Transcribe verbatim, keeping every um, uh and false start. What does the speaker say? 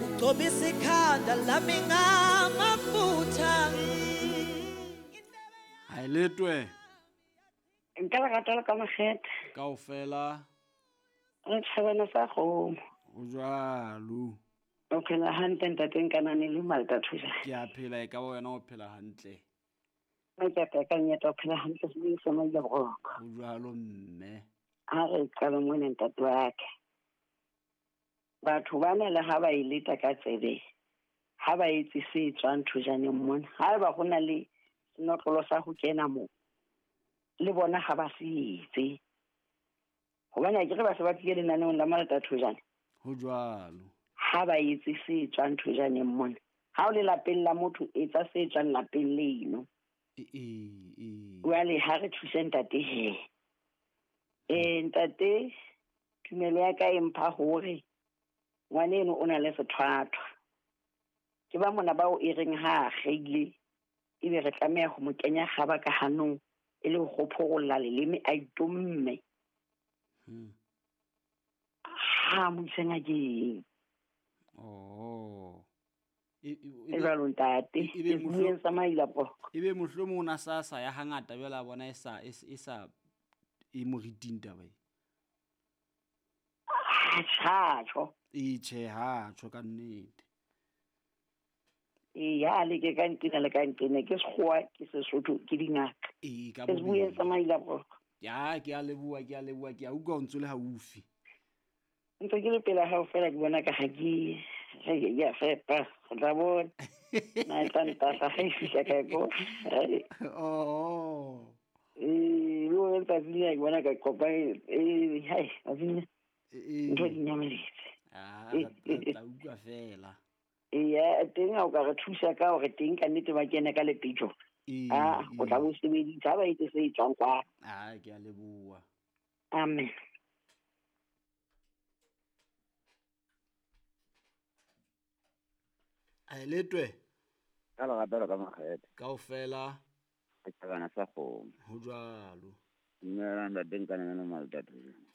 Ugcobisa ikhanda lami ngamafutha. Ha e letwe. Nka le rata le ka makgethe. Kaofela. Re tjhabana sa kgomo. O jwalo. O phela hantle ntate Nkanane le Malta Thusa. Ke a phela, e ka ba wena o phela hantle. Nna ke a phela ka nnete, o phela hantle sebeng sa Maila Boroko. Ho jwalo mme. Ha re qala mona ntate wa ka. Batho bana le ha ba e leta ka tsebe, ha ba etse se tswang thojaneng mona, haeba ho na le senotlolo sa ho kena moo, le bona ha ba se etse. Hobane akere ba se ba tlile lenaneong la Malta Thojane. Ho jwalo. Ha ba etse se tswang thojaneng mona. Ha o le lapeng la motho, etsa se tswang lapeng leno. E, e, e. Jwale ha re thuse ntate he. Eh, ntate, tumelo ya ka e mpha hore ngwaneno o na le sethwathwa. Ke ba mona bao e reng ha a kgeile, ebe re tlameha ho mo kenya kgaba ka hanong e le ho kgophorolla leleme a itomme. Hmm. Ha mo ise ngakeng. Oh. E, e, E jwalo ntate, e be ke mohlo- bueng sa Maila Boroko. E be mohlomong o na sa sa ya hangata jwale a bona e sa, e s-, e sa e moriting taba e. Ah, tjha, tjho. E tjhe, ha tjho ka nnete. Ee, ha le ke ka nqena le ka nqena, ke Sekgowa, ke Sesotho, ke dingaka. Ee, ka Ke bueng bobedi. sa Maila Boroko. Ya, ke a leboha, ke a leboha, ke a utlwa o ntso le haufi. Ntse ke le pela hao fela ke bona ka ha ke, re ke a fepa, re tla bona. Na e tla ntahla ha e fihla kae ko. Oh. Ee, le hore letsatsi lena ke bona ka kopa, ee, hai, tsatsi lena. Ee. Ntho di nyameletse. Ah, re tla utlwa fela. Eya, teng ha o ka re thusa ka hore teng ka nnete ba kene ka lepetjo. Ee, Ah, o tla ee. bo sebeditse, ha ba etse se etswang kwa. Ah, ke a leboha. Amen. A e letwe? Ka lerato la ka makgethe. Kaofela. Ke thabana sa kgomo. Ho jwalo. Dumela ntate Nkanane le Malta Thusa.